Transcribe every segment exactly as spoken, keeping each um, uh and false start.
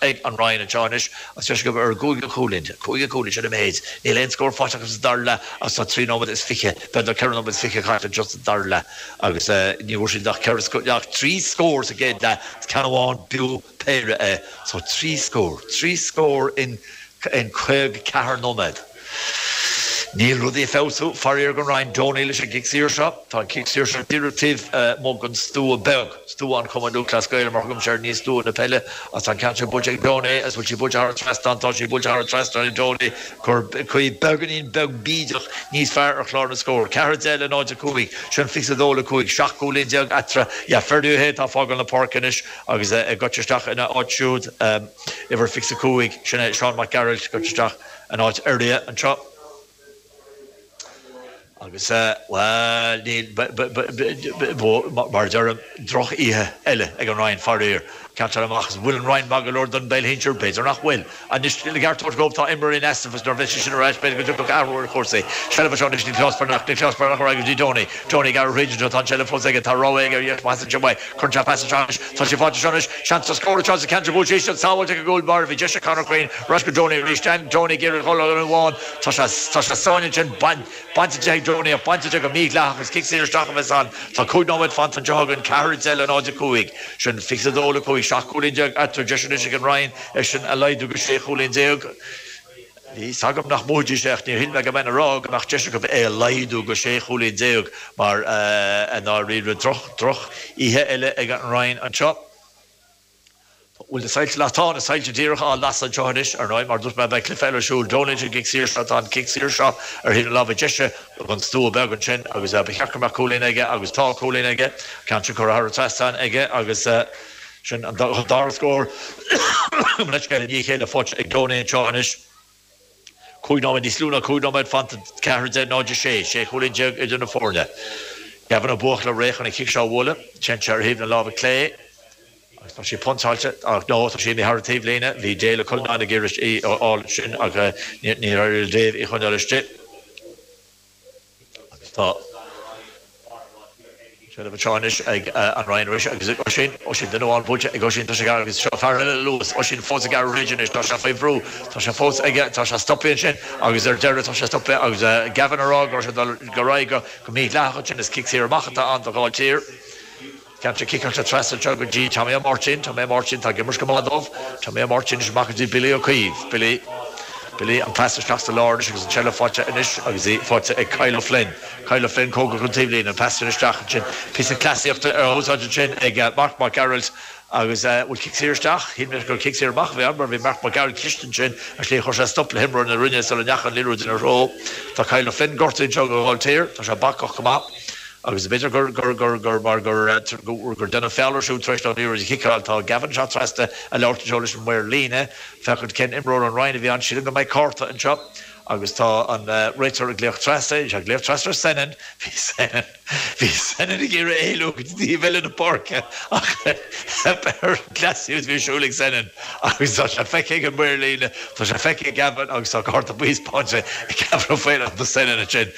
ag an Rinn anseo anois agus deis acu ar cúig chúilín, cúig chúilín sin an méid. Níl aon scór faighte acu sa dara leath agus tá trí nóiméad is fiche, b'fhéidir ceithre nóiméad is fiche caite anseo sa dara leath agus ní bhfuair siad ach ceithre, ach trí scór sa gcéad leath, ceann amháin b'fhiú péire é. So trí scór, trí scór in in caoga ceathair nóiméad. Níl rudaí ag feabhsú, faraor don Rinn. Donie leis an gcic saor seo. Tá an cic saor seo díreach taobh amuigh den stua beag, stua an Chumainn Lúthchleas Gael mar a thugaimse air, ní stua na peile, agus tá an ceann seo buailte ag Donie agus bhfuil sí buailte thar an trasnán? Tá sí buailte thar an trasnán ag Donie. Cur caoi beagáinín beag bídeach níos fearr ar chlár na scór. Ceathair a deich le náid a cúig, sin fiche a dó le cúig, seacht gcúilín déag eatarthu. Yeah, Ferdia O'Hea atá ag fágáil na páirce anois agus ag goil isteach ina áit siúd, uimhir fiche a cúig, sin é Seán Mac Gearailt, ag goil isteach in áit Fherdia anseo. Agus, bhuel, níl, mar a deirim, droch-oíche eile ag an Rinn, faraor. Ceantar amach, an bhfuil an Rinn maith go leor don bpeil shinsir? B'fhéidir nach bhfuil. Anois, le ceart a thabhairt dóibh, tá imreoir in easnamh agus nuair a bheidh sé sin ar ais, b'fhéidir go dtiocfadh athrú ar chúrsaí. Seilbh anseo anois, Nioclás Breathnach, Nioclás Breathnach ar aghaidh go dtí Donie. Donie ag gearradh thríd anseo, tá an tseilbh fós aige, tá rogha aige ar dheis, pasann sé uaidh, cuireann sé pas anseo anois, tá sé faighte anseo anois, seans ar scór anseo sa cheantar buailte isteach, sábháilte ag an gcúl báire, bhí deis ag Conor Quinn, ar ais go Donie arís, Donie ag iarraidh dhul ar an amháin, tá sé, tá sé sáinnithe ansin, bain. Bainte de ag Donie ach bainte de go mídhleathach agus cic saor isteach a bheas ann. Tá cúig nóiméad fanta anseo againn, ceathair a deich le náid a cúig. Sin fiche a dó le cúig, seacht gcúilín déag eatarthu. Deis anois ag an Rinn é sin a laghdú go sé chúilín déag. Bhí fhios agam nach mbuafaidís é ach níor shíl mé go mbeinn ag rá go mbeadh deis acu é a laghdú go sé chúilín déag mar i ndáiríre droch, droch oíche eile ag an Rinn anseo. Bhfuil na soilse lasta? Tá na soilse díreach á lasadh anseo anois, ar ndóigh, mar dúirt mé, beidh cluiche eile ar siúl. Donie an cic saor seo, tá an cic saor seo ar thaobh na láimhe deise den stua beag ansin agus ba cheart go mbeadh cúilín aige agus tá cúilín aige, ceann sin curtha thar an trasnán aige agus sin an dara scór i ndiaidh a chéile faighte ag Donie anseo anois. Cúig nóiméad, níos lú ná cúig nóiméad fanta, ceathair a deich, náid a sé, sé chúilín déag idir na foirne. Gavin Ó Buachalla réidh chun an cic seo a bhualadh. Téann sé ar thaobh na láimhe clé. Agus tá sí pointeáilte, ach no, tá sí imithe thar an taobhlíne. Bhí Dale Ó Cuilleanáin ag iarraidh í a fháil sin ach níor éirigh le Dave í a choinneáil istigh. Agus tá seilbh anseo anois ag an Rinn arís agus ag Oisín. Oisín, duine amháin buailte ag Oisín, tá sé gar agus seo fear eile luas. Oisín fós ag gearradh thríd anois, tá sé faoi bhrú, tá sé fós aige, tá sé stoptha ansin agus ar deireadh tá sé stoptha agus Gavin ag rá go raibh sé ag dul ar aghaidh go mídhleathach ansin. Is cic saor amach atá ann do Ghailltír. Ceann seo ciceáilte trasna anseo go dtí Tommy Ó Máirtín. Tommy Ó Máirtín, tá ag imirt go maith dóibh. Tommy Ó Máirtín anois amach go dtí Billy Ó Caoimh. Billy, Billy, an pas isteach sa lár anois agus an tseilbh faighte anois agus í faighte ag Kyle O'Flynn. Kyle O'Flynn cóngarach don taobhlíne, an pas sin isteach ansin. Píosa cleasaíochta á úsáid ansin ag Mark Mac Gearailt agus bhfuil cic saor isteach? Shíl mé gur cic saor amach a bhí ann mar bhí Mark Mac Gearailt cliste ansin ar shlí chuir sé stop le himreoir na Rinne sula ndeachaigh an liathróid ina threo. Tá Kyle O'Flynn gortaithe anseo do Ghailltír. Tá sé bacach go maith. Agus b'fhéidir gur, gur, gur, gur, mar gur, gur, gur deineadh feall air siúd tar éis dó an liathróid a chiceáil. Tá Gavin anseo trasna ag labhairt anseo leis an maor líne, féachaint cén imreoir ón Rinn a bhí ann. Sílim go mbeidh cárta anseo agus tá an réiteoir ag glaoch trasna, tá sé ag glaoch trasna ar Senan. Bhí Senan, bhí Senan ag iarraidh éalú go dtí taobh eile na páirce ach theip ar an gcleasaíocht a bhí ar siúl ag Senan agus tá sé feicthe ag an maor líne, tá sé feicthe ag Gavin agus tá cárta buí spáinte ag Gavin Ó Faoláin do Senan ansin.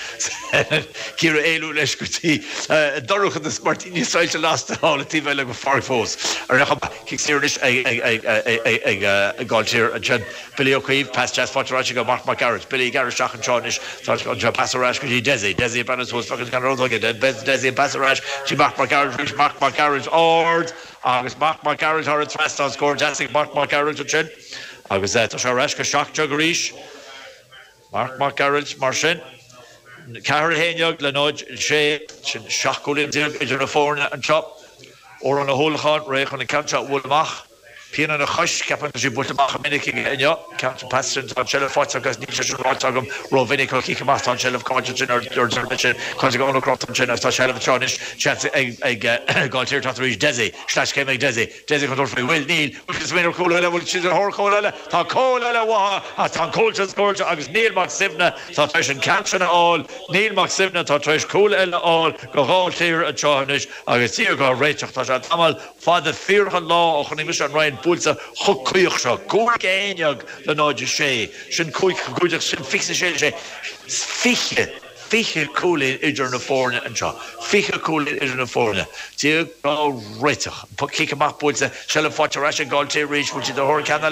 Ag iarraidh éalú leis go dtí an dorchadas mar níl soilse lasta thall an taobh eile den pháirc fós. Ar aon chuma, cic saor anois ag Gailltír ansin. Billy Ó Caoimh, pas deas faighte ar ais ag Mark Mac Gearailt. Billy ag gearradh isteach anseo anois. Tá an pas ar ais go dtí Dessie. Dessie ag breathnú suas, féachaint cén rud aige. Dessie an pas ar ais go dtí Mark Mac Gearailt arís. Mark Mac Gearailt ard agus Mark Mac Gearailt thar an trasnán. Scór deas ag Mark Mac Gearailt ansin agus tá sé ar ais go seacht déag arís. Mark Mac Gearailt mar sin. Ceathair a haon déag le náid a sé, sin seacht gcúilín déag idir na foirne anseo. Odhrán Ó hUallacháin réidh chun an ceann seo a bhualadh amach. Pian ina chois, ceapaim tá sí buailte amach go minic aige inniu. Ceann sin pas sin, tá an tseilbh faighte agus níl sé sin ráite agam rómhinic. Ó chic amach tá an tseilbh caillte ansin ar deireadh sin, caillte ag Eoin Ó Crochta ansin agus tá seilbh anseo anois, seans ag Gailltír teacht arís. Dessie, sleaschéim ag Dessie. Dessie chun tabhairt faoi. Bhfuil? Níl. Bhfuil siad ag smaoineamh ar chúl eile? Bhfuil siad ar thóir cúl eile? Tá cúl eile uathu ach tá an cúl sin scóráilte agus Niall Mac Suibhne atá tar éis an ceann sin a fháil. Niall Mac Suibhne atá tar éis cúl eile a fháil do Ghailltír anseo anois agus Dia dhá réiteach. Tá sé tamall fada fíorach an lá ó chonaic mise an Rinn buailte chomh caoch seo. Cúig a haon déag le náid a sé. Sin cúig, cúig, sin fiche a sé, sé, fiche. Fiche cúilín idir na foirne anseo. Fiche cúilín idir na foirne. Dia dhá réiteach. Cic amach buailte, seilbh faighte ar ais ag Gailltír arís. Bhfuil siad ar thóir ceann eile?